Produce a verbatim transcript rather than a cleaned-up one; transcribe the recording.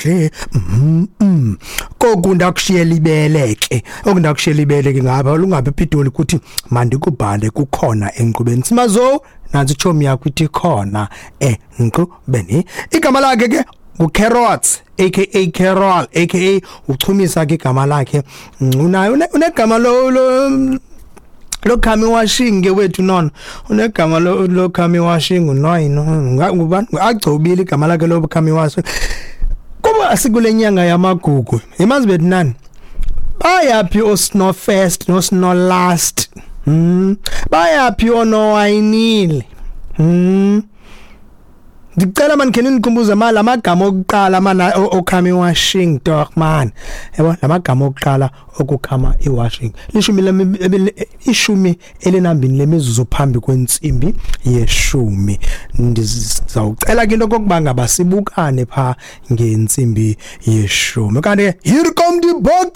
Kakuhle mm, mm. Koku ndakushiyela ibele ke, oku ndakushiyela ibele ke ngapha lungapha ePitoli, kuthi mandikubhale kukhona enkqubeni. Simazo nantsi itshomi yakho ithi khona enkqubeni. Igama lakhe ke nguCarrots, aka Carol, aka uchumisa ke igama lakhe. Unayo, unegama lo lo lokhama iwashing ke wethu nono, unegama lokhama iwashing unoyino ngubani, agcobile igama lakhe lokhama iwashing. Kuba sikule nyanga yamagugu, imazi bethi nani, bayaphi oSnow First noSnow Last? hmm bayaphi onowayinile? hmm Ndicela man khe nikhumbuze mali amagama okuqala mana okhama iwashing dog man, yabo, lamagama okuqala okukhama iwashing. Lishumi, ishumi elinambini lemizuzu phambi kwentsimbi yeshumi. Ndizawucela ke into kokuba ngaba sibukane pha ngentsimbi yeshumi, kanti here come the bokkie.